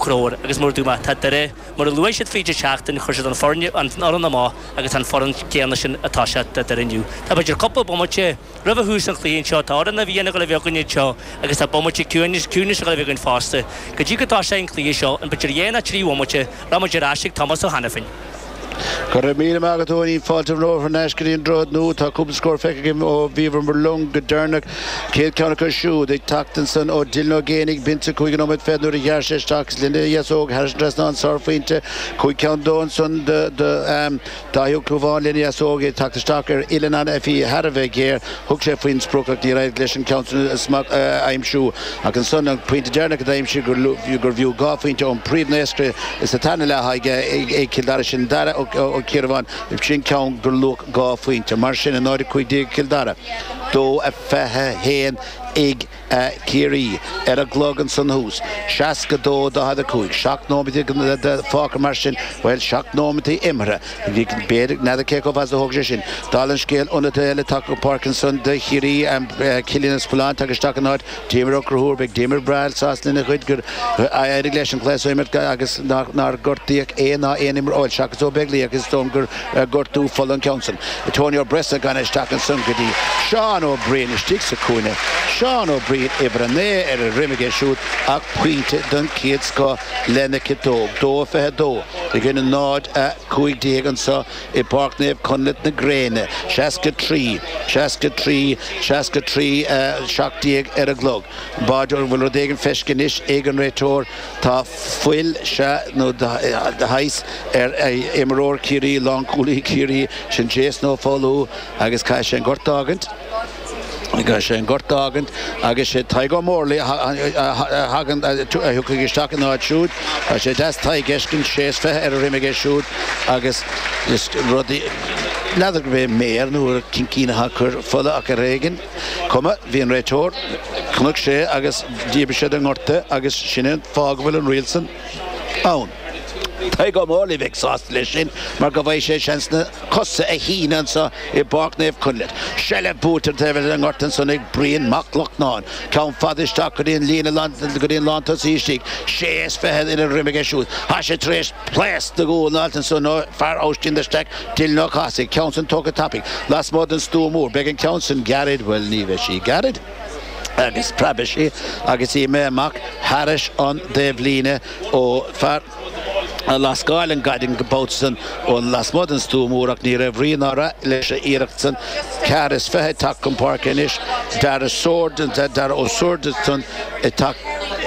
Conchúir, agus mar a dúirt mé, tá Doire, mar a luaigh siad fríd an tseachtain, chuir siad an foireann, an fhoireann amach agus tá an foireann céanna sin atá sé do Doire inniu. Tá b'fhéidir cúpla bomaite roimhe thús an chluiche anseo, tá fhoireann na bhFiann ag dul a bheith againn anseo agus tá bomaite ciúinis, ciúinis ag dul a bheith againn fosta. Go dtí go dtoiseoidh an cluiche seo, in b'fhéidir 2 nó 3 bhomaite, rachaidh muid ar ais ag Tomás Ó hAiniféin. Go raibh míle maith agat, Eoinín. Fáilte romhat thar n-ais go dtí an Droichead Nua. Tá cúpla scór feicthe againn ó bhíobhamar linn go deireanach. Chéad ceann acu siúd ag teacht ansan ó Dylan Ó Géibheannaigh, b'in sa chúigiú nóiméad fichead nuair a ghearr sé isteach is lena dheasóg thairis an trasnán sárphointe. Cúig cheann dó ansan do Dáithí Ó Clúmháin lena dheasóg ag teacht isteach ar uillinn a bhí thar a bheith géar. Thug sé faoin sprioc ach níor éirigh leis an ceann san a aimsiú. Ach ansan an pointe deireanach a d'aimsigh gurbh fhiú 2 phointe ón bpríomhnaoscaire sa tarna leath ag Cill Dara, sin Dara Ó Ciarabháin, sin ceann gur luach 2 phointe. Mar sin, 0-15 ag Cill Dara, 2-21 ag Ciarraí ar an gclog ansan thuas. 62 45. 7 nóiméad fágtha mar sin, bhuel, 7 nóiméad imeartha. B'fhéidir, n'fheadar cé chomh fada is a thógfaidh sé sin. Dála an scéil, ionadaithe eile tagtha go páirc ansan do Chiarraí, Cillian Ó Spealáin tagtha isteach in áit Diarmuid Ó Conchúir. Beidh Diarmuid breá sásta lena chuid gur éirigh leis an chluiche so a imirt agus nár gortaíodh é ná aon imreoir, bhuel, seachas Ó Beaglaoich ach is dóigh liom gur gortú fola an ceann san. Tony Ó Brosnacháin isteach ansan go dtí Seán Ó Briain istigh sa chúinne. Seán Ó Briain, uimhir 9 ar a dhroim aige siúd ach pointe den chéad scoth lena chiotóg. 2-22 i gcoinne 0-15 anseo i bPáirc Naomh Conleth na gréine. 63, 63, 63, 17 ar an gclog. B'fhéidir go bhfuil rud éigin feiscithe anois ag an réiteoir. Tá fuil, sea, nó de shaghas, ar imreoir Chiarraí, lánchúlaí Chiarraí, sin Jason Ó Foghlú agus caithfidh sé an gort a fhágaint. Caithfidh sé an gort a fhágaint agus sé Tadhg Ó Mórlaigh a thagann, a thiocfaidh isteach ina áit siúd. Tá sé deas Tadhg a fheiscint, sé is 20 ar a dhroim aige siúd agus is rudaí, n'fheadar gurb é méar nó cincín atá ag cur fola ach ar éigin. Cuma, bhí an réiteoir, chonaic sé agus dhíbir sé den ngort é agus sin é an fáth go bhfuil an riail san ann. Tadhg Ó Mórlaigh bheadh sásta leis sin mar go bhfaighidh sé seans na cosa a shíneadh anseo i bPáirc Naomh Conleth. Seilbh buaite ar an taobh eile den ngort ansan ag Brian Mac Lochnáin. Ceann fada isteach go dtí an líne go dtí an lántosaí istigh. Sé is 20 ina dhroim aige siúd. Tá sé tar éis pléasc de ghual na alt ansan ó fear Oistín de Staic, Dylan Ó Cathasaigh. Ceann san tógtha tapaidh lasmuigh den stua mór. Beidh an ceann san gairid, bhuel ní bheidh sí gairid agus preabfaidh sí agus í imithe amach thairis an dtaobhlíne ó fear a lascáil an gcaid an babhta san ó lasmuigh den stua mór ach ní raibh rí ná rath leis an iarracht san. 24 ag teacht chun páirce anois, Dara Swords, Dara Ó Swords ansan ag teacht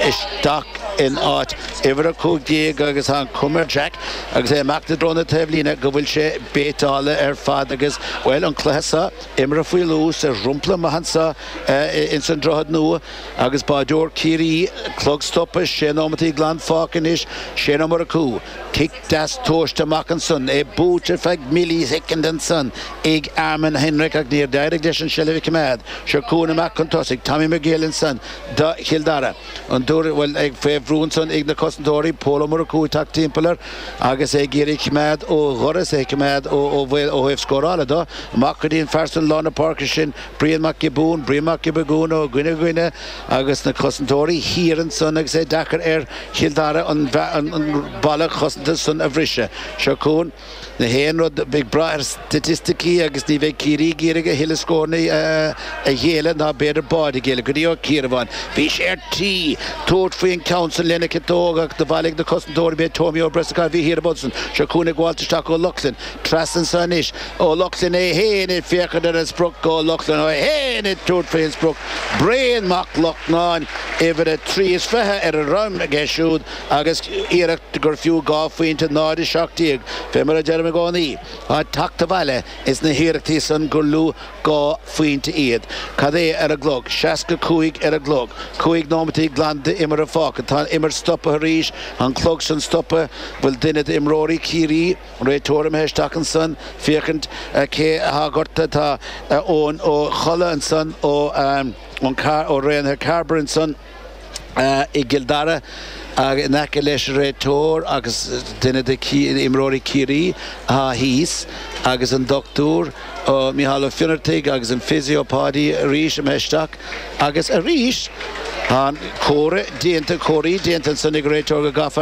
isteach in áit uimhir 15 agus tá an chuma ar Jack agus é amach i dtreo na taobhlíne go bhfuil sé béiteáilte ar fad agus, bhuel, an cluiche seo imeartha faoi luas ar dhromchla maith anseo ins an Droichead Nua. Agus báideoir Ciarraí, clog stoptha, sé nóimeataí glan fágtha anois, Shane Ó Murchú, cic deas tomhaiste amach ansan, é buailte ar feadh millisecond ansan ag Eamonn Hendrick ach níor d'éirigh leis an seilbh a choimeád. Seo chugainn amach chun tosaigh, Tommy McGill ansan do Chill Dara. An dúr, bhuel, ag fé bhrú ansan ag na cosantóirí, Pól Ó Murchú ag teacht timpeall air agus é ag iarraidh coimeád ó dhoras, é ag coimeád ó bhaol ó thaobh scórála do. Amach go dtí an fear san lár na páirce sin, Brian Mac Giobúin, Brian Mac Giobúin ó dhuine go dhuine agus na cosantóirí thiar ansan agus é deacair ar Chill Dara an balla cosanta san a bhriseadh. Seo chugainn na haon rud ag brath ar staitisticí agus ní bheidh Ciarraí ag iarraidh a thuilleadh scóranna a ghéilleadh ná b'fhéidir báid a ghéilleadh go dtí Ó Ciarabháin. Bhí sé ar tí tabhairt faoin ceann san lena chiotóg ach do bhailigh na cosantóirí b'é Tommy Ó Breasacáin a bhí thiar an babhta san. Seo chugainn ag gabháilt isteach Ó Lochlainn. Trasna anso anois. Ó Lochlainn é féin ag féachaint ar an sprioc. Ó Lochlainn é féin ag tabhairt faoin sprioc. Brian Mac Lochnáin, uimhir a 23 ar a dhroim aige siúd agus iarracht gur fiú 2 phointe 0 17. Fé mar a deirim i gcónaí, tá teacht abhaile ins na hiarrachtaí san gur lú 2 phointe iad. Cad é ar an gclog? 65 ar an gclog. 5 nóimeataí glan d'imeartha fágtha. Tá an imirt stoptha arís. An clog san stoptha. Bhfuil duine d'imreoirí Chiarraí Réiteoir imithe isteach ansan féachaint cé atá gortaithe. Tá Eoin Ó Colla ansan ó ó Raonaithe Cairbre ansan i gCill Dara in aice leis an réiteoir agus duine de imreoirí Chiarraí atá thíos agus an dochtúir Mícheál Ó Fionnartaigh agus an physio Páidí arís imithe isteach agus arís. An comhartha déanta, comharthaí déanta ansan ag an réiteoir go gcaithfear.